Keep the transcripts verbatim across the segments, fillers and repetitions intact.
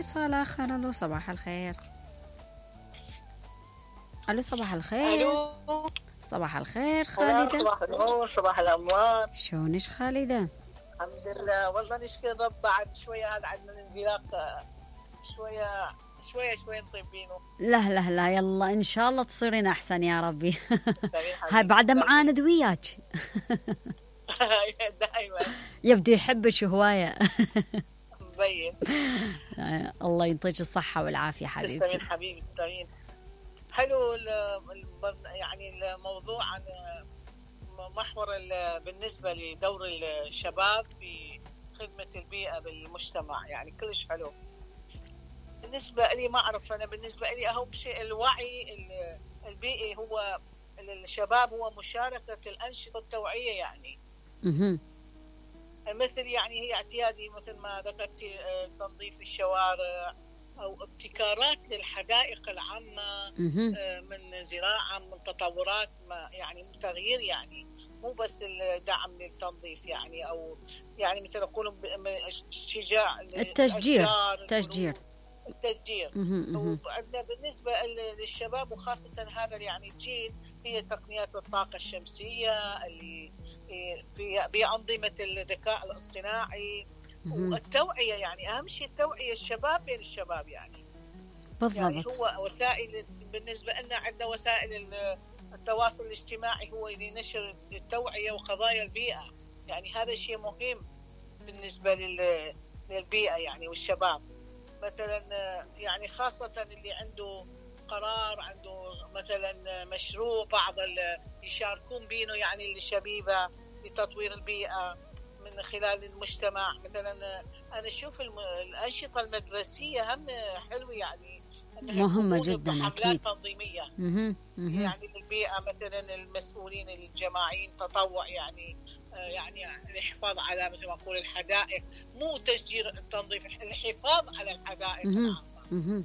اتصال آخر. ألو صباح الخير. ألو صباح الخير. الو صباح الخير خالدة. صباح النور، صباح الأموال. شلونش خالدة؟ الحمد لله، والله نشكر رب. بعد شوية هذا عندنا الانزلاق، شوية شوية شوية نطيبينه. لا لا لا، يلا إن شاء الله تصيرين أحسن يا ربي. هاي بعد معاند وياك. دائما يبدو يحبش هواية. مبين. الله يعطيك الصحة والعافية حبيبتي. تسلمين حبيبي، تسلمين. حلو يعني الموضوع عن محور بالنسبة لدور الشباب في خدمة البيئة بالمجتمع، يعني كلش حلو. بالنسبة لي ما أعرف، أنا بالنسبة لي أهم شيء الوعي البيئي. هو الشباب هو مشاركة الأنشطة التوعية، يعني مثل يعني هي اعتيادي مثل ما ذكرتي تنظيف الشوارع أو ابتكارات للحدائق العامة، من زراعة، من تطورات، ما يعني من تغيير، يعني مو بس الدعم للتنظيف، يعني أو يعني مثل يقولون شجاع التشجير التشجير التشجير. وعندنا بالنسبة للشباب وخاصة هذا يعني الجيل، هي تقنيات الطاقة الشمسية اللي بأنظمة الذكاء الاصطناعي والتوعية. يعني أهم شيء التوعية، الشباب بين الشباب، يعني بالضبط. يعني هو وسائل، بالنسبة لنا عندنا وسائل التواصل الاجتماعي هو لنشر التوعية وقضايا البيئة، يعني هذا شيء مهم بالنسبة للبيئة يعني والشباب. مثلا يعني خاصة اللي عنده قرار، عنده مثلا مشروع، بعض يشاركون بينه يعني الشبيبة لتطوير البيئة من خلال المجتمع. مثلا أنا أشوف الأنشطة المدرسية هم حلوة، يعني مهمة جدا أكيد. تنظيمية مه. مه. يعني للبيئة، مثلا المسؤولين الجماعيين تطوع، يعني يعني الحفاظ على مثل ما نقول الحدائق، مو تشجير التنظيف، الحفاظ على الحدائق العامة.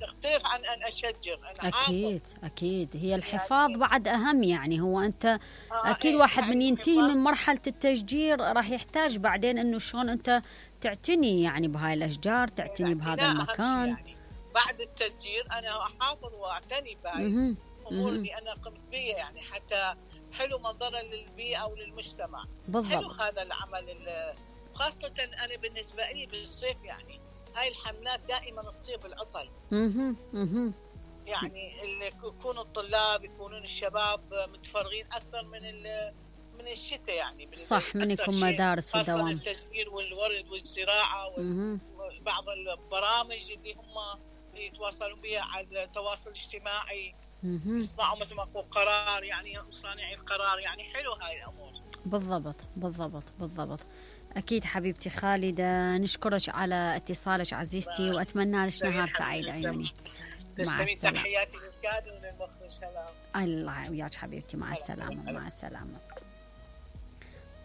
تختلف عن أن أشجر. أنا أكيد أكيد هي الحفاظ يعني بعد أهم، يعني هو أنت آه أكيد إيه واحد يعني من ينتهي من مرحلة التشجير راح يحتاج بعدين إنه شلون أنت تعتني يعني بهاي الأشجار، تعتني يعني بهذا المكان. يعني بعد التشجير أنا أحافظ وأعتني بهاي الأمور اللي أنا قمت بها، يعني حتى حلو منظرا للبيئة وللمجتمع. بالضبط. حلو هذا العمل، خاصة أنا بالنسبة لي بالصيف، يعني هاي الحملات دائما تصير بالعطل. اها اها يعني اللي يكونوا الطلاب، يكونون الشباب متفرغين أكثر من من الشتاء، يعني صح، من يكون مدارس ودوام. خاصة التشجير والورد والزراعة وبعض البرامج اللي هم يتواصلون بها على التواصل الاجتماعي، يصنعوا مثل ما أقول قرار، يعني صانعي القرار، يعني حلو هاي الأمور. بالضبط بالضبط بالضبط. أكيد حبيبتي خالدة، نشكرك على اتصالك عزيزتي، وأتمنى لك نهار سعيد عيوني. مع السلامة. تحياتي للكادر وللمخرج. سلام. الله وياك حبيبتي، مع السلامة. مع السلامة.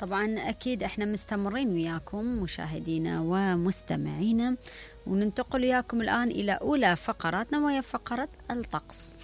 طبعا أكيد إحنا مستمرين وياكم مشاهدينا ومستمعينا، وننتقل وياكم الآن إلى أولى فقراتنا، وهي فقرة الطقس.